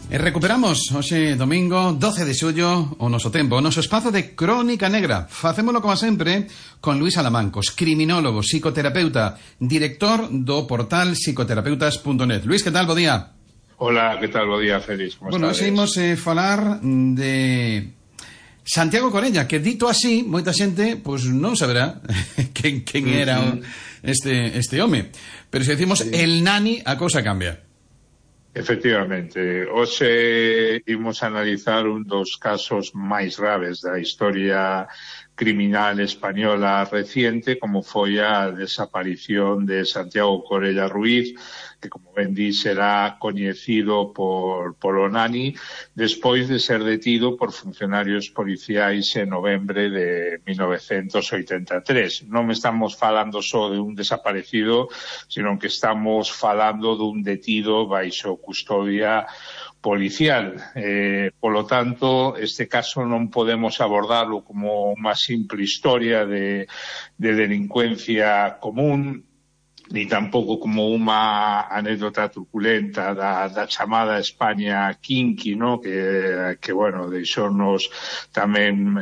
Recuperamos hoxe domingo 12 de xullo o noso tempo, o noso espazo de Crónica Negra. Facémolo como sempre con Luís Alamancos, criminólogo, psicoterapeuta, director do portal psicoterapeutas.net. Luís, que tal? Bo día. Hola, que tal? Bo día, Félix. Como bueno, estades? imos falar de Santiago Corella, que dito así, moita xente pois non saberá quen era este home. Pero se decimos el Nani, a cousa cambia. Efectivamente, hoxe imos analizar un dos casos máis graves da historia criminal española reciente, como foi a desaparición de Santiago Corella Ruiz, que, como ben di, será coñecido polo Nani, despois de ser detido por funcionarios policiais en novembre de 1983. Non estamos falando só de un desaparecido, sino que estamos falando dun detido baixo custodia policial. Polo tanto, este caso non podemos abordarlo como unha simple historia de delincuencia común, ni tampouco como unha anécdota truculenta da chamada España Kinky, no? que bueno, deixounos tamén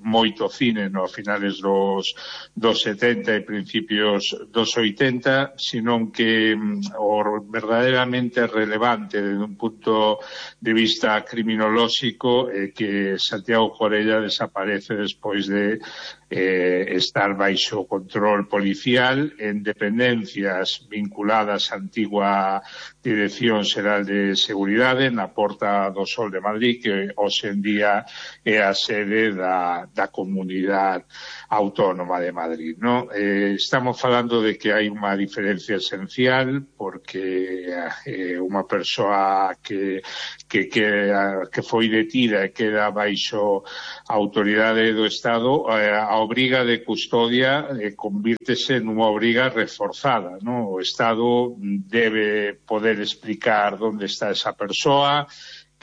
moito cine no finales dos 70 e principios dos 80, senón que o verdadeiramente relevante desde un punto de vista criminolóxico é que Santiago Corella desaparece despois de estar baixo control policial en dependencias vinculadas á antigua Dirección Xeral de Seguridade na Porta do Sol de Madrid, que hoxe en día é a sede da Comunidade Autónoma de Madrid, ¿no? Estamos falando de que hai unha diferencia esencial, porque unha persoa que foi detida e queda baixo a autoridade do Estado, a obriga de custodia convírtese nunha obriga reforzada, ¿no? O Estado debe poder explicar onde está esa persoa,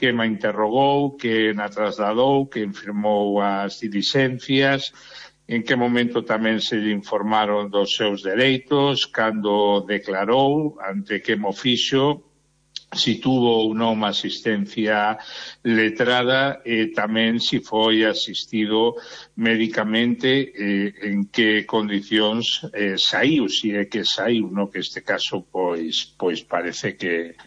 que ma interrogou, que na trasladou, que firmou as dilixencias, en que momento tamén se lle informaron dos seus dereitos, cando declarou, ante que mo fixo, si tuvo ou non asistencia letrada e tamén si foi asistido médicamente, en que condicións saiu, si é que saiu, no? Que este caso pois parece que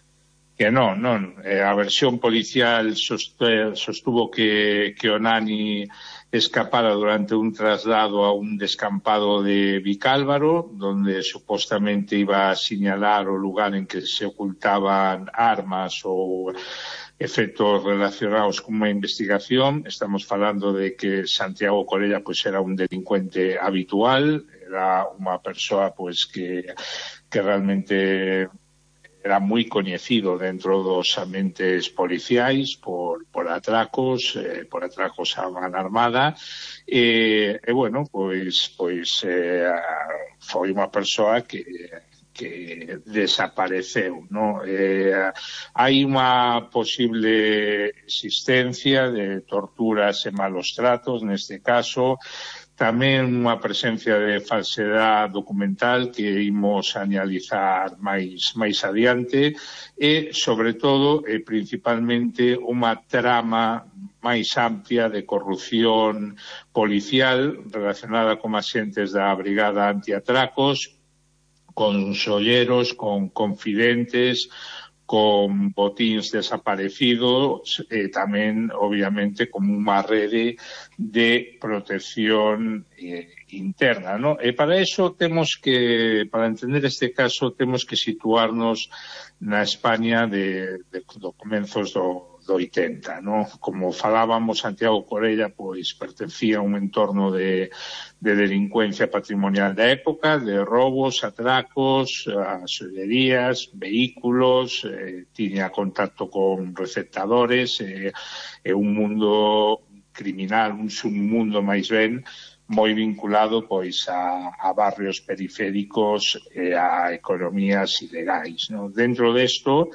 non. A versión policial sostuvo que o Nani escapara durante un traslado a un descampado de Vicálvaro, donde supuestamente iba a señalar o lugar en que se ocultaban armas ou efectos relacionados con unha investigación. Estamos falando de que Santiago Corella era un delincuente habitual, era unha persoa que realmente era moi coñecido dentro dos ambientes policiais por atracos a man armada, e bueno, foi unha persoa que desapareceu, ¿no? Hai unha posible existencia de torturas e malos tratos neste caso, tamén unha presencia de falsedade documental que imos analizar máis adiante, e, sobre todo, principalmente, unha trama máis amplia de corrupción policial relacionada con axentes da Brigada Antiatracos, con solleros, con confidentes, con botíns desaparecidos, e tamén, obviamente, como unha rede de protección interna, ¿no? E para eso para entender este caso, temos que situarnos na España do comenzos do 80, ¿no? Como falábamos, Santiago Corella pertencía a un entorno de delincuencia patrimonial da época, de robos, atracos, sollerías, vehículos, tiña contacto con receptadores, un mundo criminal, un submundo máis ben, moi vinculado a barrios periféricos e a economías ilegais, ¿no? Dentro desto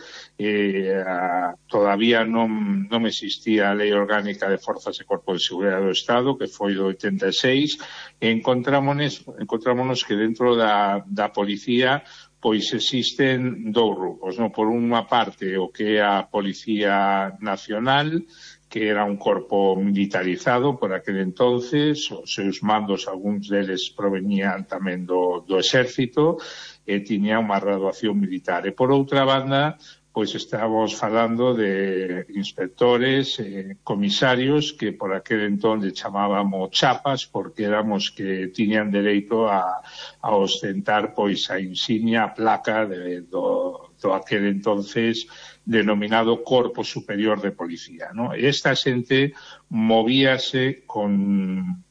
todavía non existía a Lei Orgánica de Forzas e Corpos de Seguridade do Estado, que foi do 86, e encontrámonos que dentro da policía pois existen dous grupos, non? Por unha parte, o que é a Policía Nacional, que era un corpo militarizado por aquel entonces, os seus mandos, algúns deles provenían tamén do exército, e tiña unha graduación militar. E por outra banda, pois estábamos falando de inspectores, comisarios, que por aquel entón le chamábamos chapas, porque éramos que tiñan dereito a ostentar pois a insignia, a placa do aquel entonces denominado Corpo Superior de Policía, ¿no? E esta xente movíase con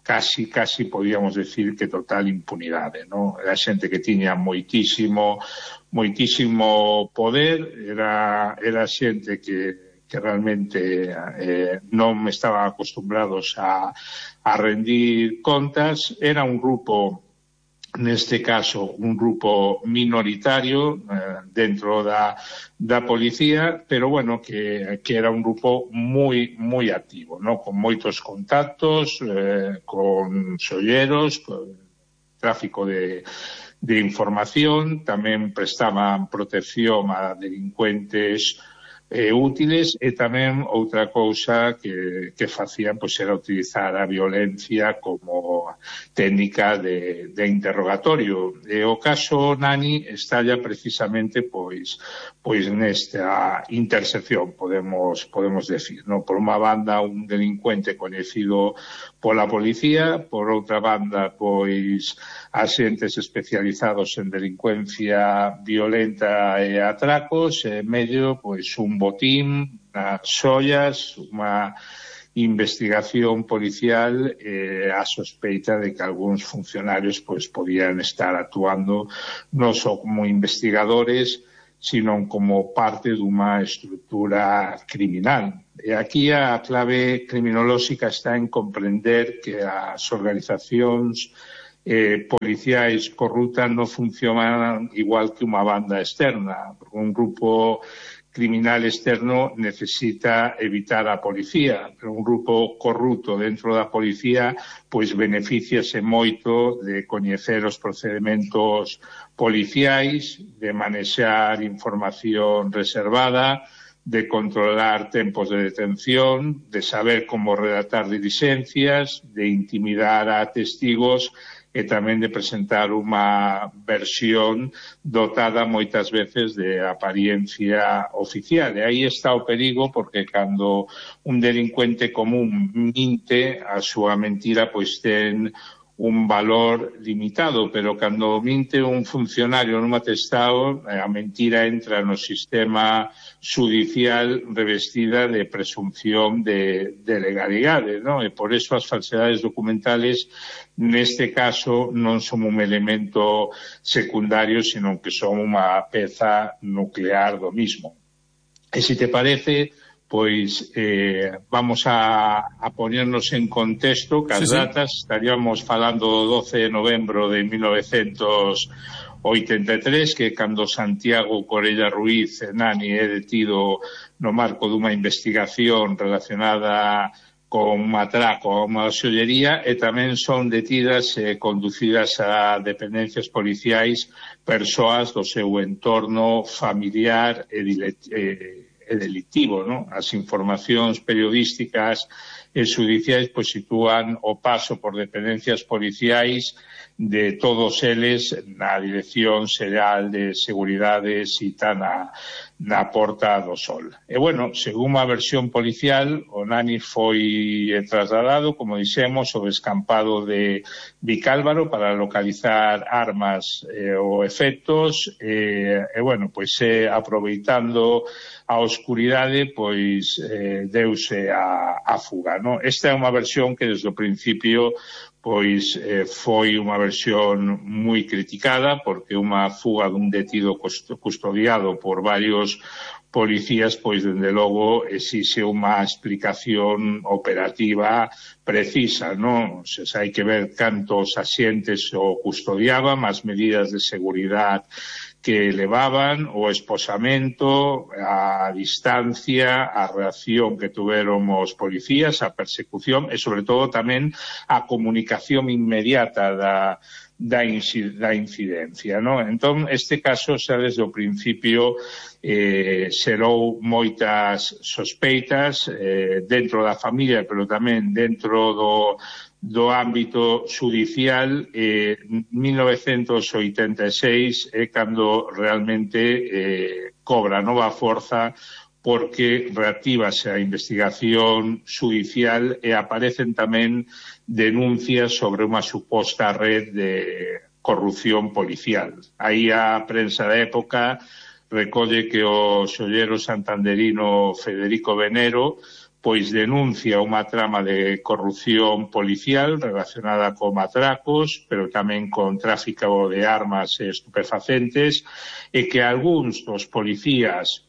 casi podíamos decir que total impunidade, ¿no? Era xente que tiña moitísimo poder, era xente que realmente non estaban acostumbrados a rendir contas. Era un grupo, neste caso, un grupo minoritario dentro da policía, pero bueno, que era un grupo moi activo, ¿no? Con moitos contactos, con solleros, con tráfico de información, tamén prestaban protección a delincuentes útiles, e tamén outra cousa que facían pois era utilizar a violencia como técnica de interrogatorio. E o caso Nani estalla precisamente pois nesta intersección, podemos decir, ¿no? Por unha banda, un delincuente coñecido pola policía, por outra banda, pois axentes especializados en delincuencia violenta e atracos, e en medio, pois un botín, unhas xoias, unha investigación policial, a sospeita de que algúns funcionarios pois podían estar actuando non só como investigadores, sino como parte dunha estrutura criminal. E aquí a clave criminolóxica está en comprender que as organizacións policiais corruptas non funcionan igual que unha banda externa. Un grupo criminal externo necesita evitar a policía, pero un grupo corrupto dentro da policía pois beneficiase moito de coñecer os procedementos policiais, de manexar información reservada, de controlar tempos de detención, de saber como redactar diligencias, de intimidar a testigos, e tamén de presentar unha versión dotada moitas veces de apariencia oficial. E aí está o perigo, porque cando un delincuente común minte, a súa mentira pois ten un valor limitado, pero cando minte un funcionario nun atestado, a mentira entra no sistema judicial revestida de presunción de legalidade, ¿no? E por eso as falsedades documentales neste caso non son un elemento secundario, sino que son unha peza nuclear do mismo. E se te parece, pois vamos a ponernos en contexto, que as datas, estaríamos falando do 12 de novembro de 1983, que cando Santiago Corella Ruiz Nani é detido no marco dunha investigación relacionada con un atraco a unha xollería, e tamén son detidas e conducidas a dependencias policiais persoas do seu entorno familiar e delictivo, ¿no? As informacións periodísticas e judiciais pois sitúan o paso por dependencias policiais de todos eles na Dirección Xeral de Seguridade cita na Porta do Sol. E, bueno, según a versión policial, o Nani foi trasladado, como dixemos, ao descampado de Vicálvaro para localizar armas ou efectos, e, bueno, pois aproveitando a oscuridade, pois deuse a fuga, ¿no? Esta é unha versión que desde o principio pois foi unha versión moi criticada, porque unha fuga dun detido custodiado por varios policías, pois, dende logo, exixe unha explicación operativa precisa, non? Hai que ver cantos axentes o custodiaban, as medidas de seguridade que levaban o esposamento, a distancia, a reacción que tuveron os policías, a persecución e, sobre todo, tamén a comunicación inmediata da incidencia, ¿no? Entón, este caso xa desde o principio xerou moitas sospeitas dentro da familia, pero tamén dentro do ámbito judicial. 1986 é cando realmente cobra nova forza, porque reactívase a investigación judicial e aparecen tamén denuncias sobre unha suposta red de corrupción policial. Aí a prensa da época recolle que o xollero santanderino Federico Venero pois denuncia unha trama de corrupción policial relacionada con atracos, pero tamén con tráfico de armas e estupefacentes, e que algúns dos policías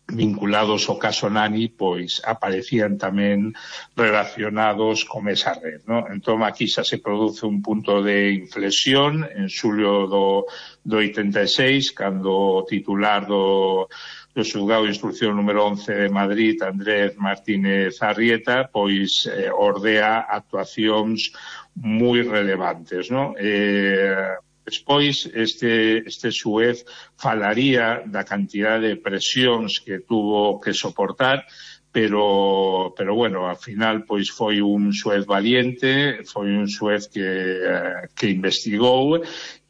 vinculados ao caso Nani pois aparecían tamén relacionados con esa red, ¿no? Entón aquí xa se produce un punto de inflexión en xulio do 86, cando o titular do xulgado de instrucción número 11 de Madrid, Andrés Martínez Arrieta, pois ordea actuacións moi relevantes, ¿no? Despois, este xuez falaría da cantidade de presións que tuvo que soportar, pero bueno, ao final pois foi un xuez valiente, foi un xuez que investigou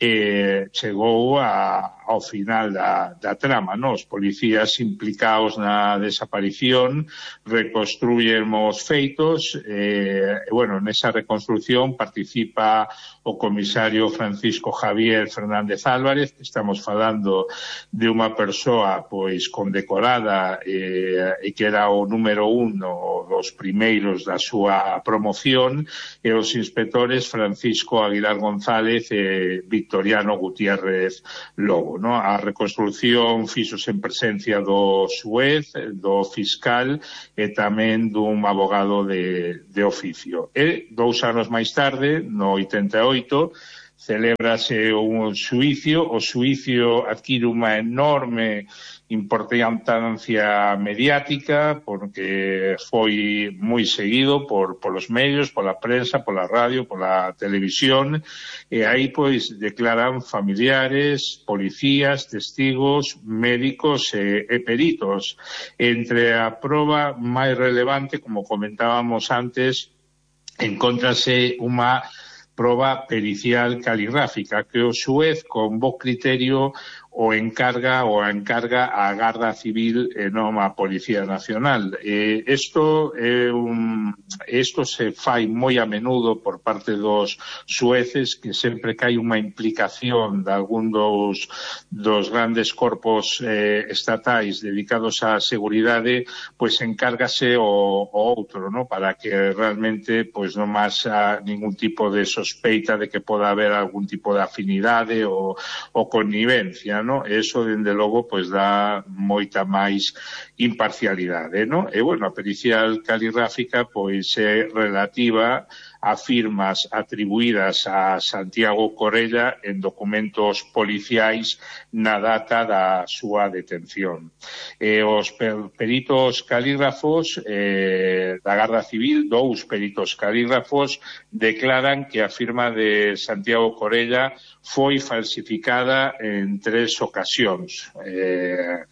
e chegou ao final da trama, ¿no? Os policías implicados na desaparición reconstruyen os feitos e, bueno, nesa reconstrucción participa o comisario Francisco Javier Fernández Álvarez, que estamos falando de unha persoa pois condecorada e que era o número 1 dos primeiros da súa promoción, e os inspectores Francisco Aguilar González e Victoriano Gutiérrez Lobo, ¿no? A reconstrucción fixose en presencia do xuez, do fiscal e tamén dun abogado de oficio. E 2 anos máis tarde, no 88, celébrase un xuicio. O xuicio adquire unha enorme importancia mediática porque foi moi seguido polos medios, pola prensa, pola radio, pola televisión, e aí pois declaran familiares, policías, testigos, médicos e peritos. Entre a proba máis relevante, como comentábamos antes, encóntrase unha proba pericial caligráfica que o xuez con bo criterio o encarga a Garda Civil e non a Policía Nacional. Isto se fai moi a menudo por parte dos xueces, que sempre que hai unha implicación de algún dos grandes corpos estatais dedicados á seguridade, pois encárgase o outro, ¿no? Para que realmente pois non haxa ningún tipo de sospeita de que poda haber algún tipo de afinidade ou connivencia, ¿no? Eso, dende logo, pois dá moita máis imparcialidade, ¿no? E, bueno, a pericial caligráfica, pois, é relativa a firmas atribuídas a Santiago Corella en documentos policiais na data da súa detención. Os peritos calígrafos da Garda Civil, 2 peritos calígrafos, declaran que a firma de Santiago Corella foi falsificada en 3 ocasións.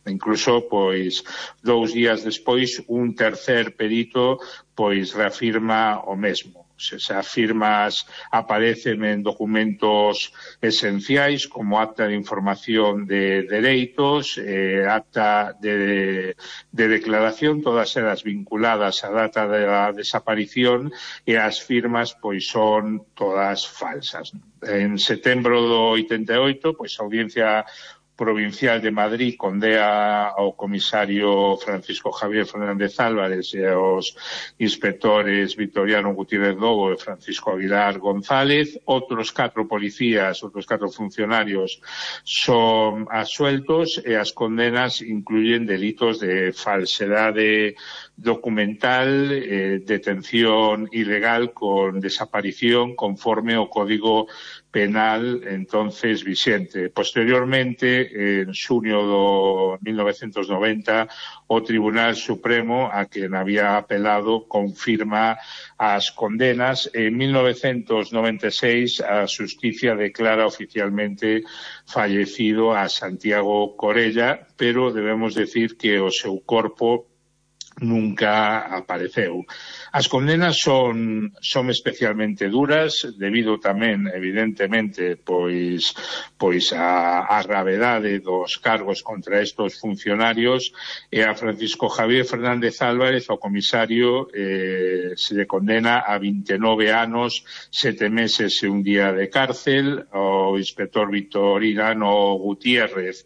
Incluso, pois, 2 días despois, un tercer perito, pois, reafirma o mesmo. Esas firmas aparecen en documentos esenciais como acta de información de dereitos, acta de declaración, todas elas vinculadas á data da desaparición, e as firmas pois son todas falsas. En setembro do 88, pois a Audiencia Provincial de Madrid condea ao comisario Francisco Javier Fernández Álvarez e aos inspectores Victoriano Gutiérrez Lobo e Francisco Aguilar González. Outros 4 policías, outros 4 funcionarios son absueltos e as condenas incluyen delitos de falsedade documental, detención ilegal con desaparición conforme ao Código penal entonces vixente. Posteriormente, en xuño do 1990, o Tribunal Supremo, a quen había apelado, confirma as condenas. En 1996, a Xusticia declara oficialmente fallecido a Santiago Corella, pero debemos decir que o seu corpo nunca apareceu. As condenas son especialmente duras, debido tamén, evidentemente, pois a gravedade dos cargos contra estos funcionarios, e a Francisco Javier Fernández Álvarez, o comisario, se le condena a 29 anos, 7 meses e un día de cárcel. O inspector Victorino Gutiérrez,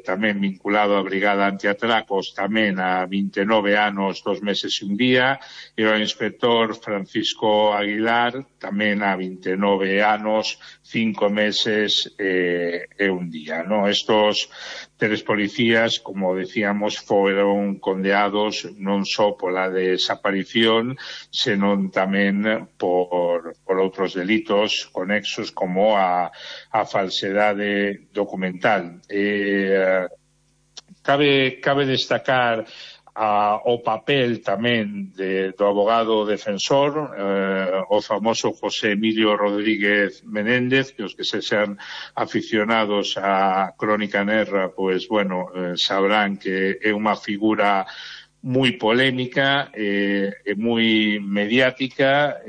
tamén vinculado á Brigada Antiatracos, tamén a 29 anos, 2 meses e un día, e o inspector Francisco Aguilar, tamén a 29 anos, 5 meses e un día, ¿no? Estos 3 policías, como decíamos, foron condeados non só pola desaparición, senón tamén por outros delitos conexos como a falsedade documental. Cabe destacar o papel tamén do abogado defensor, o famoso José Emilio Rodríguez Menéndez, que os que sexan aficionados á Crónica Negra, pois, bueno, sabrán que é unha figura moi polémica e moi mediática.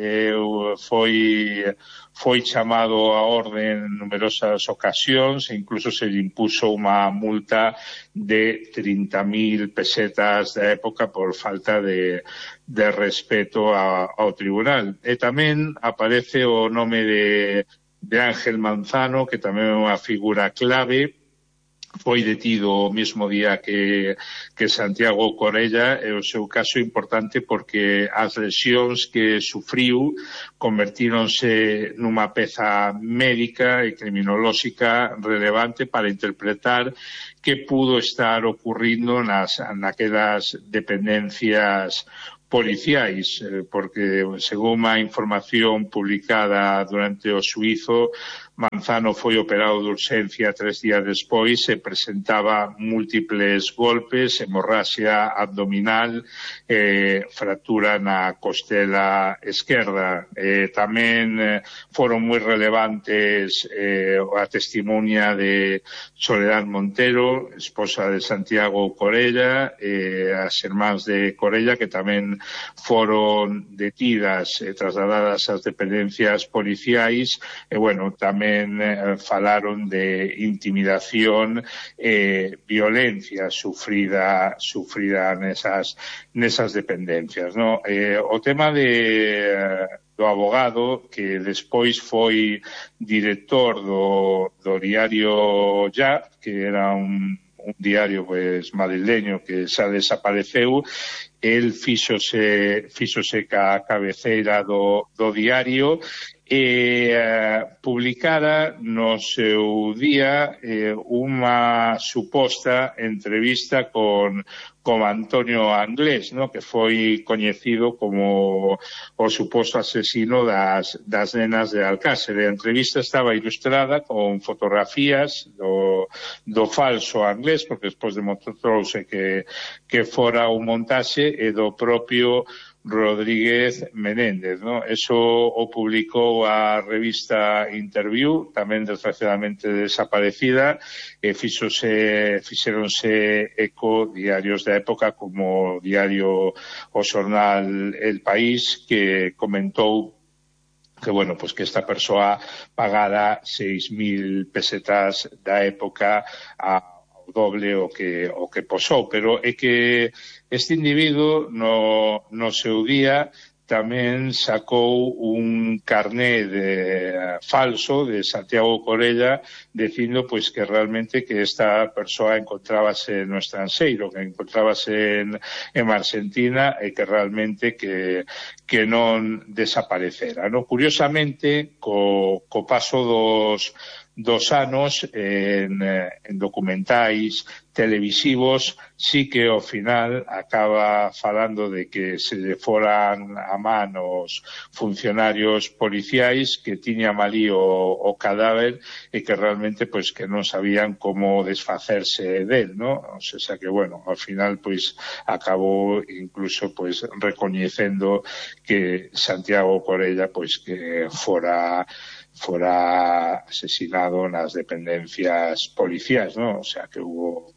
Foi chamado a orde en numerosas ocasións e incluso se lle impuso unha multa de 30.000 pesetas da época por falta de respeto ao tribunal. E tamén aparece o nome de Ángel Manzano, que tamén é unha figura clave. Foi detido o mesmo día que Santiago Corella, e o seu caso é importante porque as lesións que sufriu convertíronse nunha peza médica e criminolóxica relevante para interpretar que pudo estar ocurrindo naquelas dependencias policiais, porque, según a información publicada durante o xuízo, Manzano foi operado de urxencia 3 días despois e presentaba múltiples golpes, hemorraxia abdominal, fractura na costela esquerda. Tamén foron moi relevantes a testimonia de Soledad Montero, esposa de Santiago Corella, as irmáns de Corella, que tamén foron detidas e trasladadas ás dependencias policiais. E, bueno, tamén falaron de intimidación e violencia sufrida nesas dependencias, ¿no? O tema do abogado, que despois foi director do diario Ya, que era un diario madrileño que xa desapareceu. El fíxose ca cabeceira do diario e publicara no seu día unha suposta entrevista con Antonio Anglés, ¿no?, que foi coñecido como o suposto asesino das nenas de Alcácer. A entrevista estaba ilustrada con fotografías do falso Anglés, porque despois demostrou-se que fora un montaxe, e do propio Rodríguez Menéndez, ¿no? Eso o publicou a revista Interview, tamén desgraciadamente desaparecida, e fixéronse eco diarios da época como o diario o xornal El País, que comentou que, bueno, pues que esta persoa pagara 6.000 pesetas da época ao doble o que posou, pero é que este individuo no seu día tamén sacou un carné falso de Santiago Corella dicindo pois que realmente que esta persoa encontrábase no estranxeiro, que encontrábase en Argentina, e que realmente que non desaparecera, ¿no? Curiosamente, co paso anos en documentais televisivos, sí que ao final acaba falando de que se lle foran a man os funcionarios policiais que tiñan ali o cadáver e que realmente pois que non sabían como desfacerse del, ¿no? O sea que, bueno, ao final pois acabou incluso pois recoñecendo que Santiago Corella pois que fora asesinado nas dependencias policiais, ¿no? O sea que hubo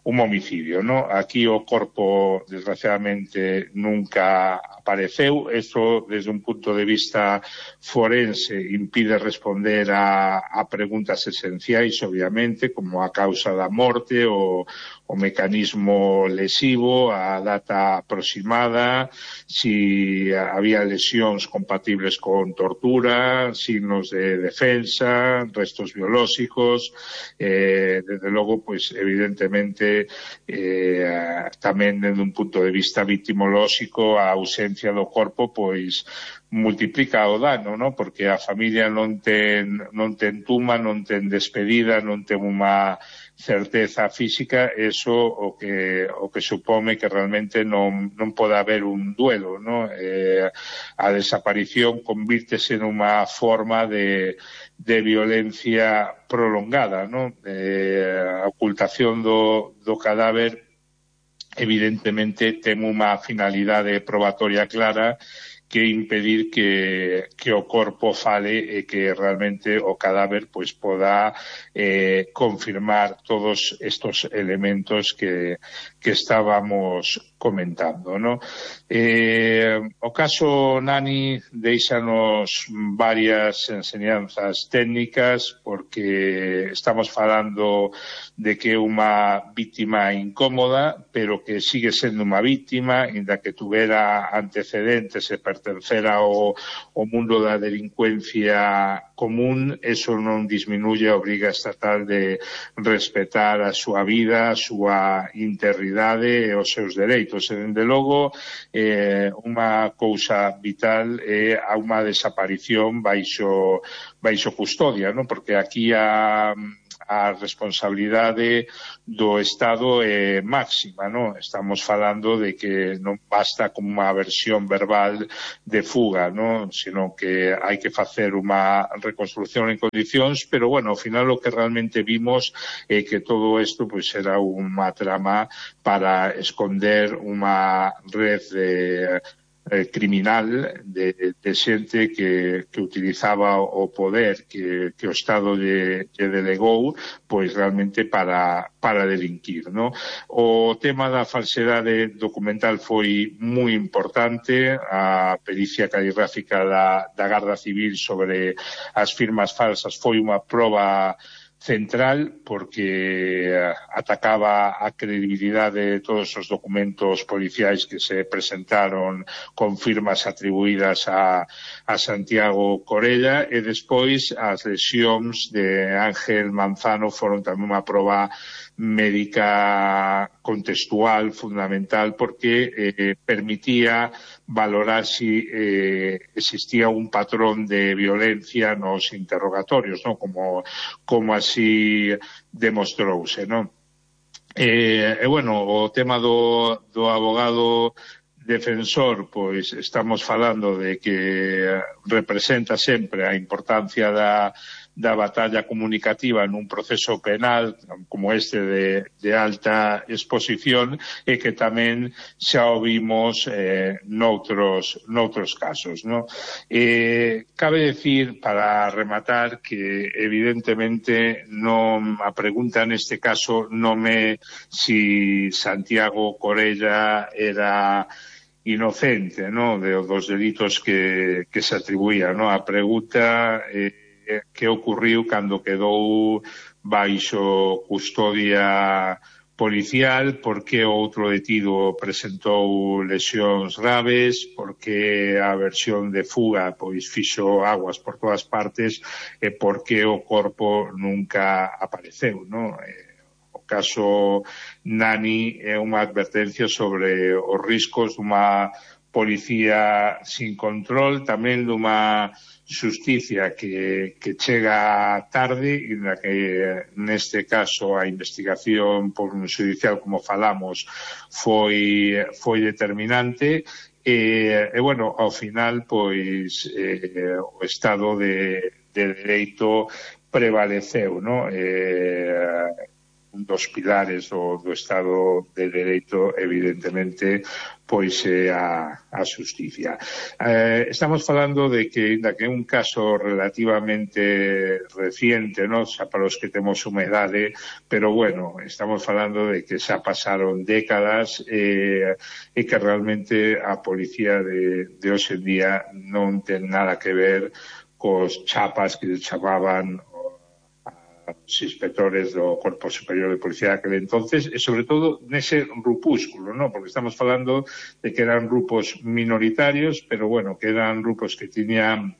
un homicidio, ¿no? Aquí o corpo desgraciadamente nunca apareceu. Eso desde un punto de vista forense impide responder a preguntas esenciais, obviamente, como a causa da morte, o mecanismo lesivo, a data aproximada, si había lesións compatibles con tortura, signos de defensa, restos biolóxicos, desde logo, pois, evidentemente, tamén desde un punto de vista victimolóxico, a ausencia do corpo, pois, multiplica o dano, ¿no? Porque a familia non ten tuma, non ten despedida, non ten unha certeza física, eso o que supome que realmente non pode haber un duelo, ¿no? A desaparición convírtese nunha forma de violencia prolongada, ¿no? A ocultación do cadáver evidentemente ten unha finalidade probatoria clara, que impedir que o corpo fale e que realmente o cadáver pois poda confirmar todos estos elementos que estábamos comentando, ¿no? O caso Nani deixanos varias enseñanzas técnicas, porque estamos falando de que é unha víctima incómoda, pero que sigue sendo unha víctima, inda que tuvera antecedentes e pertencera ao mundo da delincuencia común. Eso non disminuye a obriga estatal de respetar a súa vida, a súa integridade e os seus dereitos. E, dende logo, unha cousa vital é a unha desaparición baixo custodia, non? Porque aquí a responsabilidade do Estado é máxima, non? Estamos falando de que non basta con unha versión verbal de fuga, non? Sino que hai que facer unha reconstrucción en condicións, pero, bueno, ao final o que realmente vimos é que todo isto pois era unha trama para esconder unha red de criminal de xente que utilizaba o poder que o Estado lle delegou pois realmente para delinquir, ¿no? O tema da falsedade documental foi moi importante. A pericia caligráfica da Garda Civil sobre as firmas falsas foi unha proba central, porque atacaba a credibilidade de todos os documentos policiais que se presentaron con firmas atribuídas a Santiago Corella, e despois as lesións de Ángel Manzano foron tamén unha proba médica contextual fundamental, porque permitía valorar si existía un patrón de violencia nos interrogatorios, ¿no? Como así demostrouse, ¿no? E, bueno, o tema do abogado defensor, pois estamos falando de que representa sempre a importancia da batalla comunicativa nun proceso penal como este de alta exposición, e que tamén xa o vimos noutros casos, ¿no? Cabe decir, para rematar, que evidentemente non a pregunta neste caso non é si Santiago Corella era inocente, ¿no? Dos delitos que se atribuían, ¿no? A pregunta que ocurriu cando quedou baixo custodia policial, porque outro detido presentou lesións graves, porque a versión de fuga pois fixo aguas por todas partes, e porque o corpo nunca apareceu, ¿no? O caso Nani é unha advertencia sobre os riscos dunha policía sin control, tamén dunha xusticia que chega tarde e na que neste caso a investigación por un judicial, como falamos, foi determinante e bueno, ao final pois o Estado de Dereito prevaleceu, non? Un dos pilares do Estado de Dereito, evidentemente, pois é a xusticia. Estamos falando de que é un caso relativamente reciente, non? Xa para os que temos humedade, pero bueno, estamos falando de que xa pasaron décadas e que realmente a policía de hoxe en día non ten nada que ver cos chapas que chamaban os inspectores do Corpo Superior de Policía daquele entonces, e sobre todo nese grupúsculo, ¿no? Porque estamos falando de que eran grupos minoritarios, pero bueno, que eran grupos que tiñan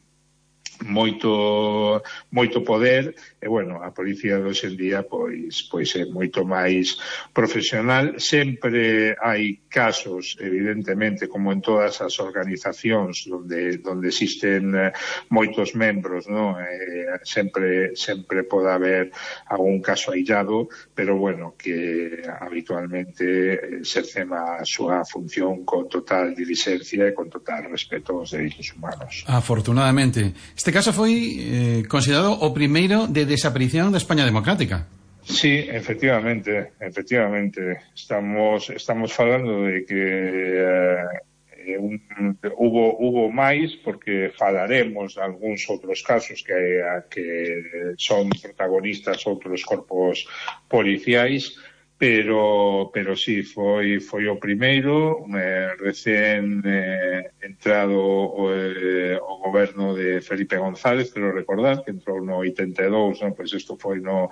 moito poder e bueno, a policía de hoxe en día pois é moito máis profesional. Sempre hai casos, evidentemente, como en todas as organizacións onde existen moitos membros, ¿no? Sempre pode haber algún caso aillado, pero bueno, que habitualmente exercen a súa función con total diligencia e con total respeto aos dereitos humanos. Afortunadamente. Este caso foi considerado o primeiro de desaparición da España democrática. Sí, efectivamente. Estamos falando de que hubo máis, porque falaremos de algúns outros casos que son protagonistas outros corpos policiais, pero sí, foi o primeiro, recén entrado o goberno de Felipe González, quero recordar, que entrou no 82, non? Pois isto foi no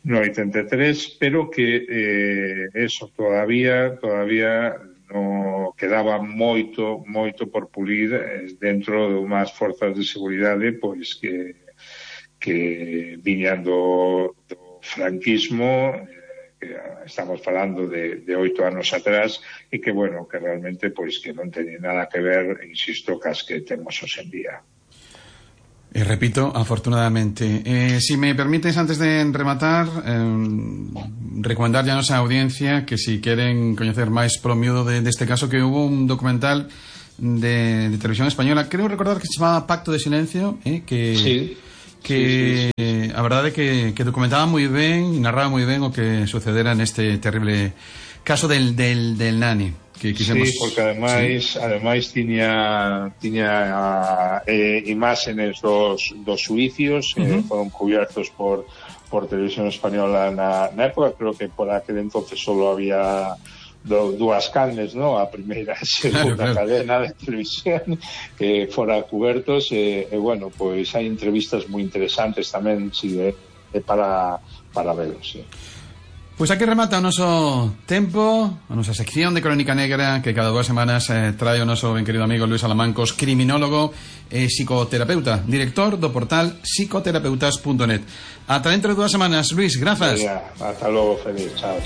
83, pero que eso todavía no quedaba moito por pulir dentro de unhas forzas de seguridade pois que viñan do franquismo, que estamos falando de 8 anos atrás, e que, bueno, que realmente pois que non teñen nada que ver, insisto, cas que temos hoxe en día. Repito, afortunadamente. Si me permites, antes de rematar, recomendar ya a nosa audiencia que si queren coñecer máis polo miúdo deste caso, que hubo un documental de televisión española, creo recordar que se chamaba Pacto de Silencio, sí. A verdade é que documentaba moi ben e narraba moi ben o que sucedera neste terrible caso del Nani, que quixemos... Sí, porque ademais tiña imágenes dos suicios, foron cubiertos por televisión española na época. Creo que por aquel entonces solo había dúas canles, ¿no? A primeira e segunda cadena de televisión que fora cubertos, bueno, pois hai entrevistas moi interesantes tamén, sí, para velos, sí. Pois aquí remata o noso tempo, a nosa sección de Crónica Negra, que cada 2 semanas trae o noso ben querido amigo Luís Alamancos, criminólogo e psicoterapeuta, director do portal psicoterapeutas.net. Ata dentro de 2 semanas, Luís, grazas. Hasta logo, feliz. Chao.